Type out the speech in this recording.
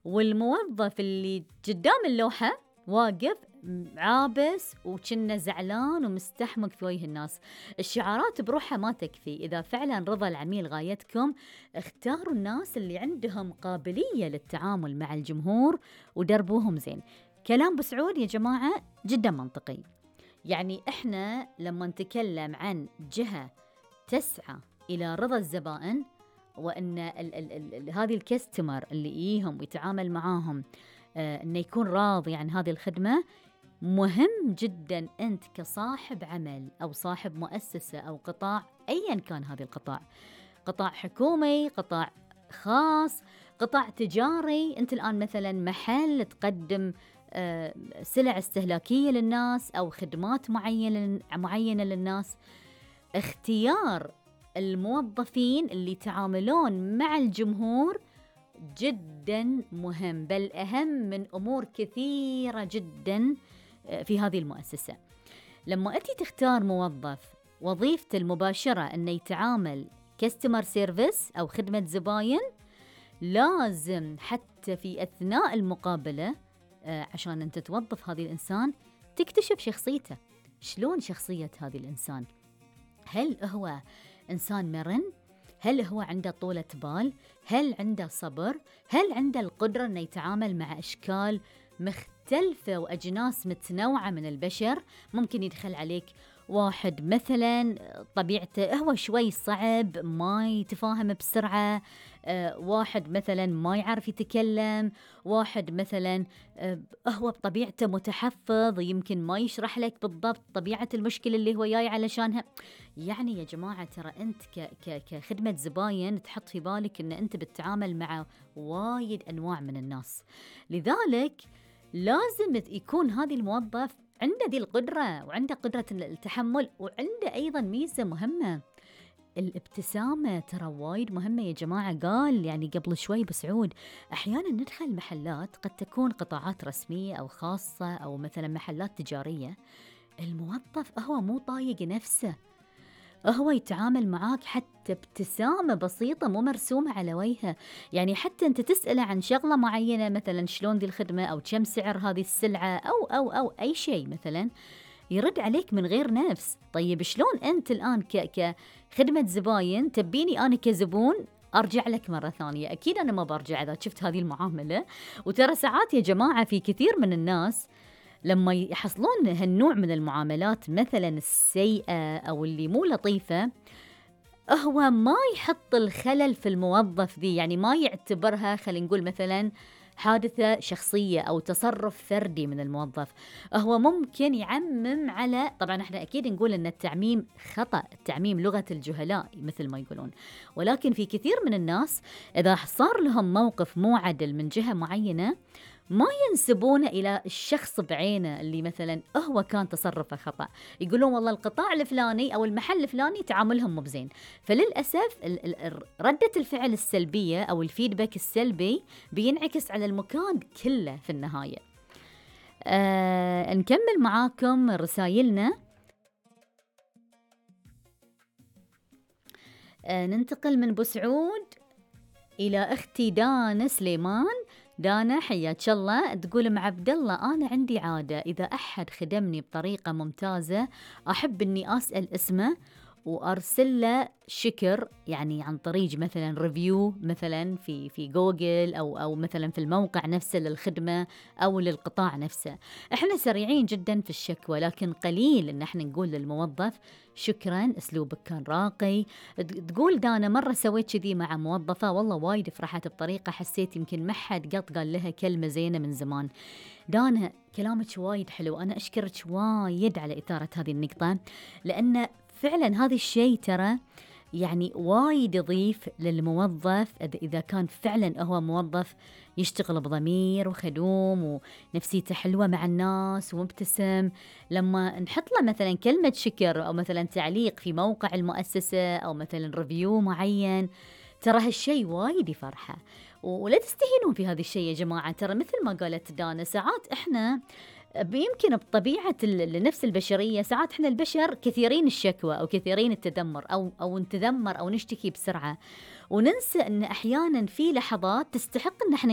والموظف اللي قدام اللوحة واقف عابس وكنه زعلان ومستحمق في وجه الناس. الشعارات بروحها ما تكفي. إذا فعلا رضا العميل غايتكم، اختاروا الناس اللي عندهم قابلية للتعامل مع الجمهور ودربوهم زين. كلام بسعود يا جماعة جدا منطقي. يعني إحنا لما نتكلم عن جهة تسعى إلى رضا الزبائن، وأن هذه الكستمر اللي يجيهم ويتعامل معاهم أنه يكون راضي عن هذه الخدمة، مهم جدا أنت كصاحب عمل أو صاحب مؤسسة أو قطاع، أيا كان هذا القطاع، قطاع حكومي، قطاع خاص، قطاع تجاري، أنت الآن مثلا محل تقدم سلع استهلاكية للناس أو خدمات معينة للناس، اختيار الموظفين اللي يتعاملون مع الجمهور جدا مهم، بل أهم من أمور كثيرة جدا في هذه المؤسسة. لما أنت تختار موظف وظيفته المباشرة أنه يتعامل كاستمر سيرفيس أو خدمة زباين، لازم حتى في أثناء المقابلة عشان أنت توظف هذا الإنسان تكتشف شخصيته. شلون شخصية هذا الإنسان؟ هل هو إنسان مرن؟ هل هو عنده طولة بال؟ هل عنده صبر؟ هل عنده القدرة أنه يتعامل مع أشكال مختلفة وأجناس متنوعة من البشر؟ ممكن يدخل عليك واحد مثلا طبيعته هو شوي صعب، ما يتفاهم بسرعة، واحد مثلا ما يعرف يتكلم، واحد مثلا هو بطبيعته متحفظ، يمكن ما يشرح لك بالضبط طبيعة المشكلة اللي هو جاي علشانها. يعني يا جماعة ترى أنت كخدمة زباين تحط في بالك أن أنت بتتعامل مع وايد أنواع من الناس، لذلك لازم يكون هذا الموظف عنده ذي القدرة، وعنده قدرة التحمل، وعنده أيضا ميزة مهمة، الابتسامة ترى وايد مهمة يا جماعة. قال يعني قبل شوي بسعود أحيانا ندخل محلات قد تكون قطاعات رسمية أو خاصة أو مثلا محلات تجارية، الموظف هو مو طايق نفسه، هو يتعامل معاك حتى ابتسامة بسيطة مو مرسومة على وجهه. يعني حتى أنت تسأله عن شغلة معينة مثلا شلون دي الخدمة أو كم سعر هذه السلعة أو أي شيء مثلا، يرد عليك من غير نفس. طيب شلون أنت الآن كخدمة زباين تبيني أنا كزبون أرجع لك مرة ثانية؟ أكيد أنا ما برجع إذا شفت هذه المعاملة. وترى ساعات يا جماعة في كثير من الناس لما يحصلون هالنوع من المعاملات مثلا السيئة أو اللي مو لطيفة، هو ما يحط الخلل في الموظف ذي، يعني ما يعتبرها خلينا نقول مثلا حادثة شخصية أو تصرف فردي من الموظف، هو ممكن يعمم على، طبعا احنا أكيد نقول أن التعميم خطأ، التعميم لغة الجهلاء مثل ما يقولون، ولكن في كثير من الناس إذا صار لهم موقف مو عدل من جهة معينة ما ينسبونه إلى الشخص بعينه اللي مثلا هو كان تصرفه خطأ، يقولون والله القطاع الفلاني أو المحل الفلاني تعاملهم مو بزين. فللأسف ردة الفعل السلبية أو الفيدباك السلبي بينعكس على المكان كله في النهاية. نكمل معاكم رسائلنا. ننتقل من بسعود إلى أختي دانا سليمان. دانا حياك الله، تقول مع عبد الله أنا عندي عادة إذا أحد خدمني بطريقة ممتازة أحب إني أسأل اسمه وأرسل له شكر، يعني عن طريق مثلا ريفيو مثلا في جوجل أو مثلا في الموقع نفسه للخدمة أو للقطاع نفسه. إحنا سريعين جدا في الشكوى، لكن قليل إن إحنا نقول للموظف شكرا أسلوبك كان راقي. تقول دانا مرة سويت كذي مع موظفة والله وايد فرحت بطريقة حسيت يمكن ما حد قال لها كلمة زينة من زمان. دانا كلامك وايد حلو، أنا أشكرك وايد على إثارة هذه النقطة، لأن فعلا هذا الشيء ترى يعني وايد يضيف للموظف إذا كان فعلا هو موظف يشتغل بضمير وخدوم ونفسيته حلوة مع الناس ومبتسم. لما نحط له مثلا كلمة شكر أو مثلا تعليق في موقع المؤسسة أو مثلا ريفيو معين، ترى هالشيء وايد يفرحه. ولا تستهينون في هذا الشيء يا جماعة، ترى مثل ما قالت دانا ساعات إحنا يمكن بطبيعة النفس البشرية ساعات إحنا البشر كثيرين الشكوى أو كثيرين التذمر أو نتذمر أو نشتكي بسرعة، وننسى أن أحيانا في لحظات تستحق أن إحنا